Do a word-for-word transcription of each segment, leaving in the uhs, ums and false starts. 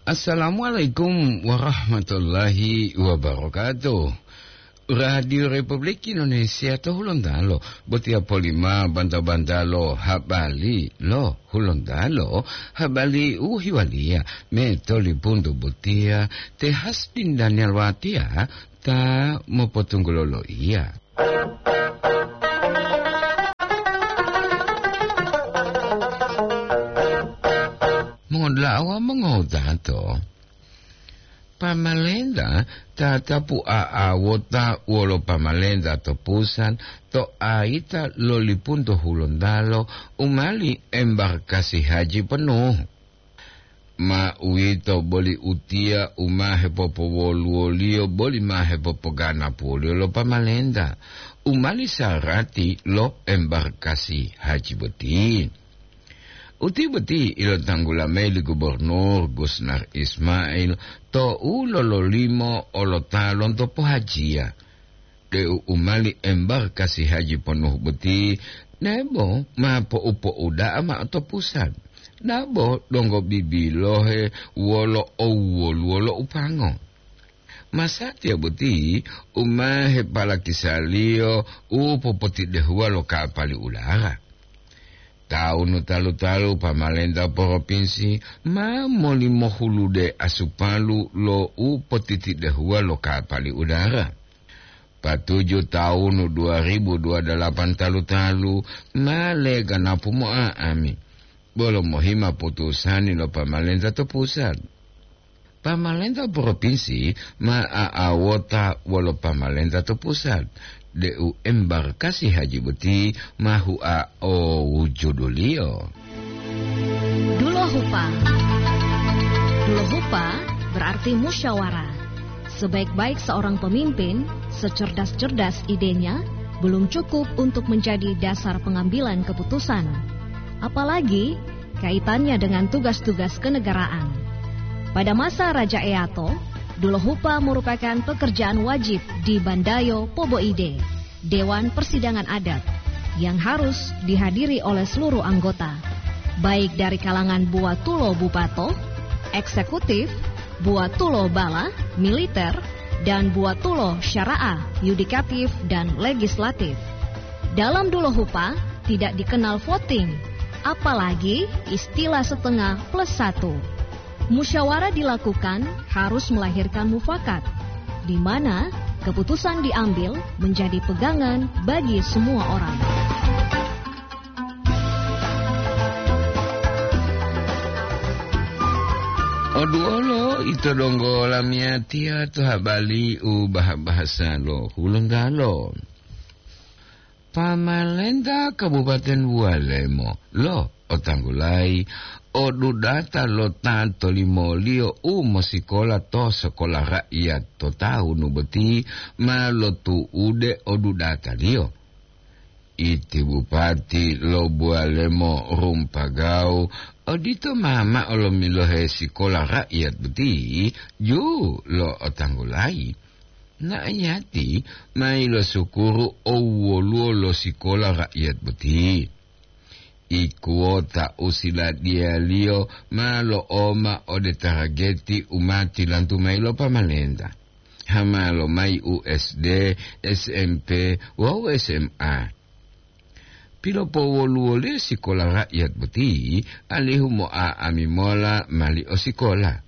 Assalamualaikum warahmatullahi wabarakatuh. Radio Republik Indonesia to Hulontalo, botiya polima banta-bantalo habari lo Hulontalo, habari u hiwaliya me tolipuntu botiya te Hasdin Daniel Watiya ta mopotunggulo loiya. Mongoda'a wawu mongotato, pamalenta tatapu a'awota wolo pamalenta to pusat to ayita lo lipunto Hulontalo u mali embarkasi haji penuh. Ma uwito boli utiya u ma hepopowoluwoliyo boli ma hepopoganapuwoliyo lo pamalenta, u mali sarati lo embarkasi haji boti. Uti boti ilotanggula mayi li Gubernur Gusnar Ismail tou lololimo olota lonto pohajiya, deu u mali embarkasi haji ponuhu boti nebo ma po'u-po'uda'a ma'o to pusat, dabo donggo bibilohe wolo owwoluwo lo upango. Masatiya boti u ma hepalakisaliyo u popotidehuwa lo kapali udara. Taunu talu-talu pamalenta poropinsi ma molimohulude asupalu lo u potitidehuwa lo kapali udara. Patuju taunu dua ribu dua dalapan talu-talu ma leganapu mo'a'ami, bolo mohima putusani lo pamalenta to pusat. Pamalenta propinsi ma a'awota wolo pamalenta to pusat, deu embarkasi haji boti ma hua o wujuduliyo. Dulohupa. Dulohupa berarti musyawarah. Sebaik-baik seorang pemimpin, secerdas-cerdas idenya, belum cukup untuk menjadi dasar pengambilan keputusan. Apalagi kaitannya dengan tugas-tugas kenegaraan. Pada masa Raja Eato, Dulohupa merupakan pekerjaan wajib di Bandayo Poboide, Dewan Persidangan Adat, yang harus dihadiri oleh seluruh anggota, baik dari kalangan buatulo bupato, eksekutif, buatulo bala, militer, dan buatulo syara'ah, yudikatif, dan legislatif. Dalam Dulohupa tidak dikenal voting, apalagi istilah setengah plus satu. Musyawarah dilakukan harus melahirkan mufakat, di mana keputusan diambil menjadi pegangan bagi semua orang. Oduolo ito donggo lamiyatiya to habari u baha-bahasa lo Hulontalo. Pamalenta Kabupaten Bualemo lo otanggulayi o dudata lo ta tolimoliyo u mosikola to sekolah rakyat to tahunu boti ma lotu'ude o dudataliyo. Iti bupati lo Bualemo Rumpagau odito ma ma'o lomilohe sikola rakyat boti ju lo otanggulayi. Na'iyati ma ilosukuru owwoluwo lo sikola rakyat boti. Ikuwota u siladiyaliyo ma lo'oma ode tarageti u ma tilantu mayi lo pamalenta. Hama lomayi u S D, S M P wawu S M A. Pilopowoluwoliyo sikola rakyat boti, alihu mo'a'ami mola mali o sikola.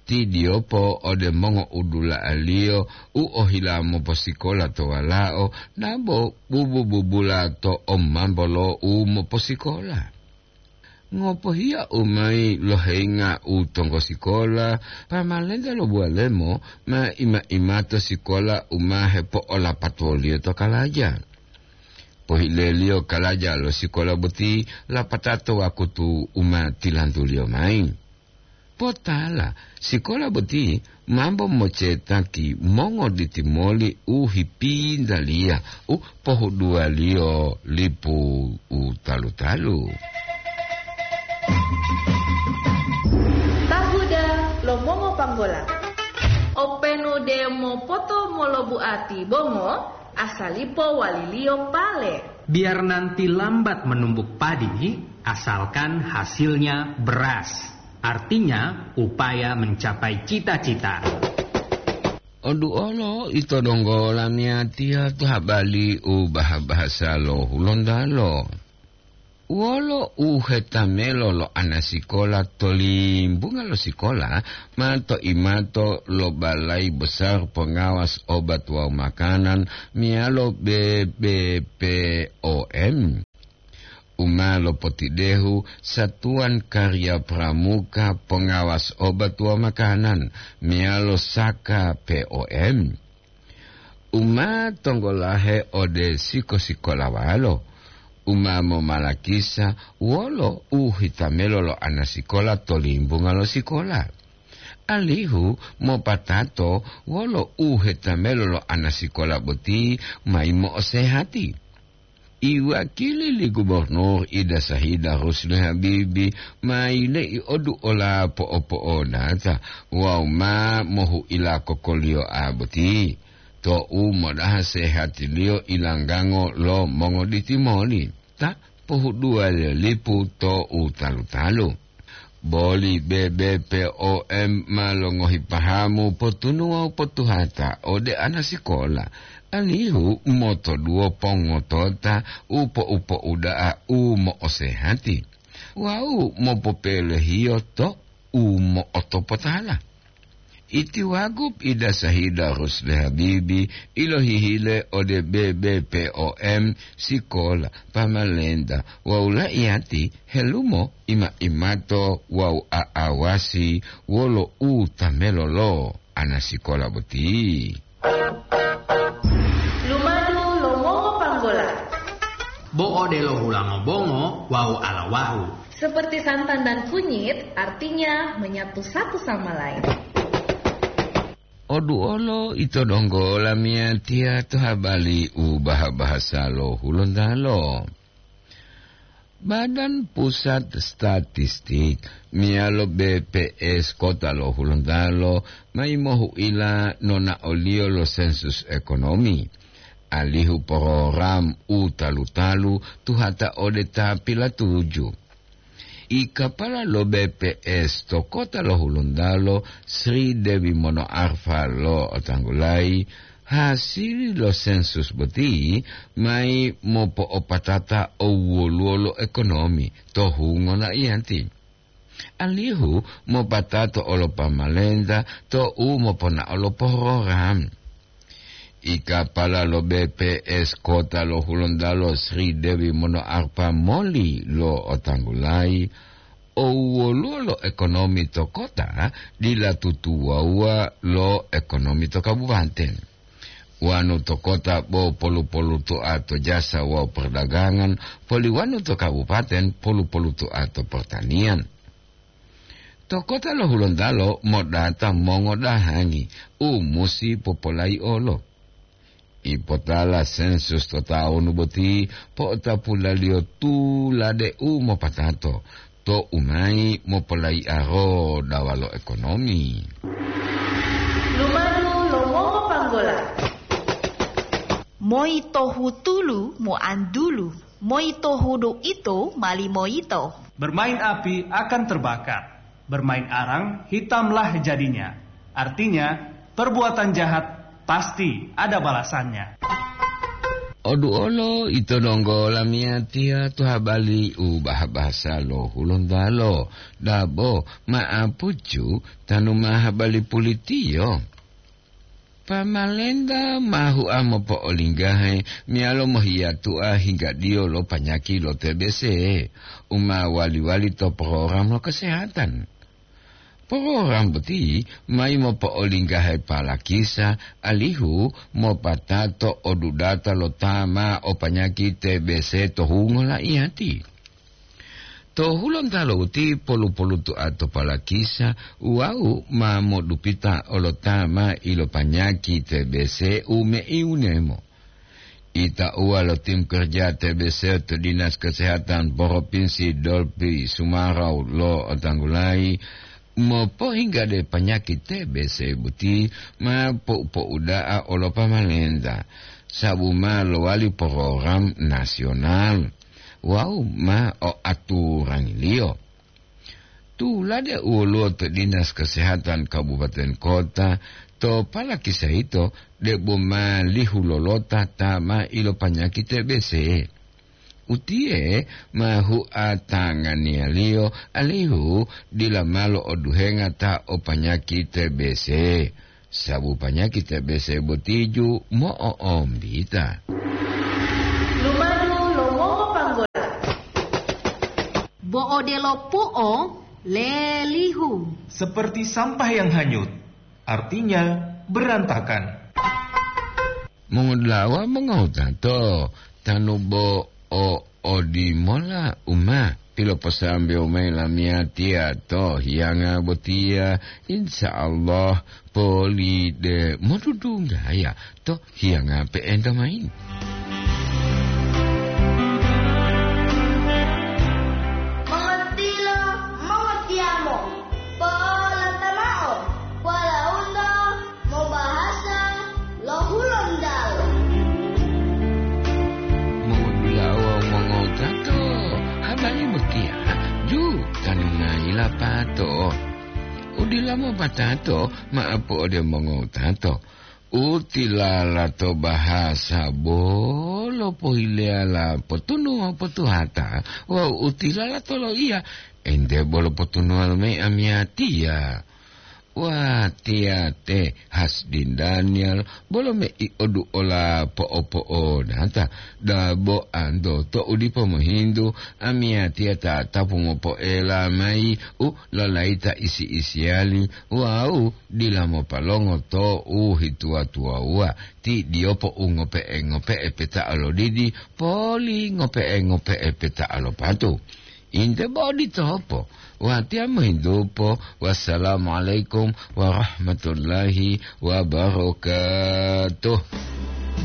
Tidiyopo ode mongo'udula'aliyo u ohila moposikola to walao, dabo bubu-bubula to omambo lo u moposikola. Ngopohiya u mayi lohenga u tonggo sikola, pamalenta lo Bualemo ma ima-imato sikola u ma hepo'olapatuwoliyo to kalaja. Pohileliyo kalaja lo sikola boti lapatao to wakutu u ma tilantuliyo mayi. Potala, sikola boti mambo mocetaki mongoditi moli u hipintaliya u pohuduwaliyo lipu u talu-talu. Tahuda lo mongopanggola. Openu de mopoto molobuati bongo, asalipo waliliyo pale. Biar nanti lambat menumbuk padi, asalkan hasilnya beras. Artinya, upaya mencapai cita-cita. Oduolo ito donggo lamiyatiya to habali u baha-bahasa lo Hulontalo. Wolo u hetamelo lo anasikola to limbunga lo sikola ma to imato lo Balai Besar Pengawas Obat wawu Makanan meyalo B B P O M, u ma lopotidehu Satuan Karya Pramuka Pengawas Obat wawu Makanan meyalo Saka P O M, u ma tonggolahe ode siko-sikolawalo, u ma momalakisa wolo u hitamelo lo anasikola to limbunga lo sikola, alihu mopatato wolo u hetamelo lo anasikola boti mayi mo'osehati. Iwakili li Gubernur Ida Sahida Rusli Habibi ma yile'i odu ola po'opo'odata wawu ma mohu'ila kokoliyo'a boti, to'u modaha sehatiliyo ilanggango lo mongoditimoli ta pohuduwa lelipu to u talu-talu. Boli B B P O M ma longohi pahamu potunu wawu potuhata ode anasikola, alihu motoduwo pongotota u po'upo'uda'a u mo'osehati wawu mopopelehiyo to u mo'otopotala. Iti Wagub Ida Sahida Rusli Habibi ilohihile ode B B P O M, sikola, pamalenta wawu la'iyati helumo ima-imato wawu a'awasi wolo u tamelo lo anasikola boti. Lumadu lo mongo panggola. Bo odelo hulango bongo wawu alawahu. Seperti santan dan kunyit, artinya menyatu satu sama lain. Oduolo ito donggo lamiyatiya to habali u baha-bahasa lo Hulontalo. Badan Pusat Statistik meyalo B P S Kota lo Hulontalo mayi mohu'ila nonaoliyo lo sensus ekonomi, alihu program u talu-talu tuhata ode ta pilatuju. I kapala lo B P S to kota lo Hulontalo, Sri Dewi Mono Arfa lo otanggulayi, hasili lo sensus boti mayi mopo'opatata owoluwo lo ekonomi to hungo la'iyati, alihu mopatato olo pamalenta to u moponao lo program. I kapala lo B P S Kota lo Hulontalo, Sri Dewi Mono Arfa moli lo otanggulayi, owoluwo lo ekonomi to kota dila tutuwawuwa lo ekonomi to kabupaten. Wanu to kota bo polu-poluto'a to jasa wawu perdagangan, poli wanu to kabupaten polu-poluto'a to pertanian. To kota lo Hulontalo modata mongodahangi u musi popolaiolo. Ipotala sensus to tawunu boti po'otapulaliyo tulade u mopatato to umayi mopolaiaro dawa lo ekonomi. Lumadu lo mongo panggola. Moi tohu tulu moantulu, moi tohu do ito mali moito. Bermain api akan terbakar. Bermain arang, hitamlah jadinya. Artinya, perbuatan jahat pasti ada balasannya. Oduolo ito donggo lamiyatiya to habali u bahasa lo Hulontalo, dabo ma'apucu tanu ma habali pulitiyo. Pamalenta ma hua mopo'olinggahe meyalo mohiyatu'a hinggadiyo lo panyaki lo T B C u ma wali-wali to program lo kesehatan. Program boti mayi mopo'olinggahe palakisa alihu mopatato odudata lo ta ma o panyaki T B C to hungo la'iyati. To Hulontalo boti polu-poluto'a to palakisa wawu ma modupita olo ta ma ilopanyaki T B C u meiunemo. Itauwa lo tim kerja T B C to Dinas Kesehatan Provinsi Dolpi Sumarau lo otanggulayi, mopohinggade panyaki T B C boti ma pou-pouda'a olo pamalenta, sabu ma lowali program nasional wawu ma o aturangiliyo. Tulade u woluwo to Dinas Kesehatan Kabupaten Kota, to palakisa yito debo ma lihu lolota ta ma ilopanyaki T B C. Utiye ma huatanganiyaliyo alihu dila malo oduhenga ta o panyaki T B C, sabu panyaki T B C botiju mo'ombita. Lumadu lo mongopanggola. Bo odelo pu'o lelihu. Seperti sampah yang hanyut, artinya berantakan. Mongodula'a mongowutato, tanu bo o odimola u ma piloposambewo mayi lamiyatiya to hiyanga botiya, insya Allah poli de modudunggaya to hiyanga pe'enta mayi. Mongotilo, mongotiyamo, polatamao, polaunto, mobahasa lo Hulontalo. Mongudula'a wawu mongowutato, habari botiya ju tanungayi lapato. Udila mopatato ma'apu ode mongowutato. Utilala to bahasa bolo pohileyala potunu wawu potuhata, wawu utilala to loiya ente bolo potunuwalo mayi amiyatiya. Watiya te Hasdin Daniel bolo mei oduola po'opo'odata, dabo anto to'u dipo mohintu, amiyatiya tatapu mopoela mayi u lalayita isi-isiyali wawu dila mopalongo to u hituwa-tuwawuwa, ti diyopo u ngope'e-ngope'e peta'a lo didi, poli ngope'e-ngope'e peta'a lo patu. Inte bo oditopo, watiya mohintupo. Wassalamualaikum warahmatullahi wabarakatuh.